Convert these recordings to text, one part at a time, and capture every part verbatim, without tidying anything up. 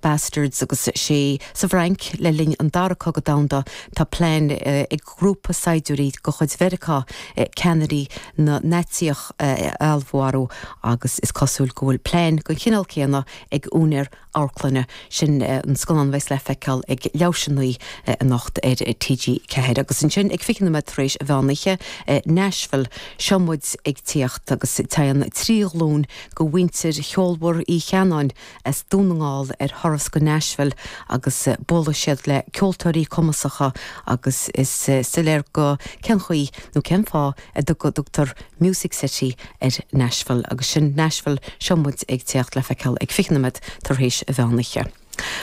Bastards agus sé sa bhFrainc le linn an dara cogadh domhanda tá plean ag grúpa saighdiúirí de chuid Mheiriceá ceannairí na Naitsíoch a fheallmharú agus is cosúil go bhfuil plean den chineál céanna ag úinéir amharclainne sin an scannán a bheas le feiceáil ag leathuair théis a naoi anocht ar TG Ceathair. Agus ansin ag fiche nóiméad tar éis an mheán oíche Nashville seo muid ag tíocht agus téann trí ghlúin de mhuintir cheolmhar Uí Cheannáin as Dún na nGall ar thuras go Nashville agus buailfidh siad le ceoltóirí cumasacha agus is soiléir go cén chaoi nó cén fáth a dtugtar Music City ar Nashville agus sin Nashville seo muid ag tíocht le feiceáil ag fiche nóiméad tar éis an mheán oíche.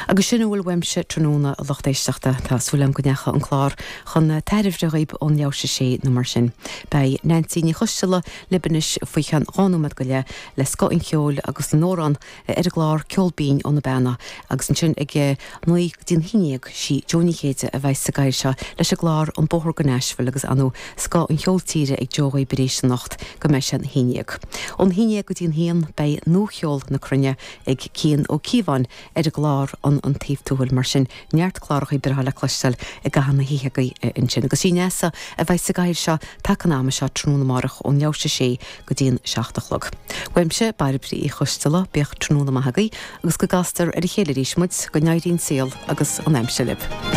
Agus sin a bhfuil uaimse tráthnóna a lucht éisteachta tá súil agam go ndeachaigh an clár chun tairbhe dhaoibh ón leathuair théis a sé nó mar sin. Beidh Nancy Ní Choisteala libh anois faoi cheann dhá nóiméad go leith le scoth an cheoil agus na n-amhrán ar an gclár Ceol Binn ó na Beanna agus ansin ag naoi go dtí an haon déag sí Joe Ní Chéide a bheidh sa gcathaoir seo leis an gclár an Bóthar go Nashville agus anú scoth an cheoil tíre ag Joe arís anocht go mbeidh sé an haon déag. Ón haon déag go dtí an haon beidh nuacheol na cruinne ag Cian Ó Cíobháin ar an gclár an an taobh tuathail mar sin neart cláracha breátha le cloisteáil i gcaitheamh na hoíche agaibh ansin. Agus sí Neasa a bheidh sa gcathaoir seo taca an ama seo tráthnóna amárach ón leathuair théis a sé go dtí an seacht a chlog. Uaimse Bairbre Uí Choisteala bíodh tráthnóna maith agaibh agus go gcastar ar a chéile arís muid go n-éirí an saol agus an aimsir libh.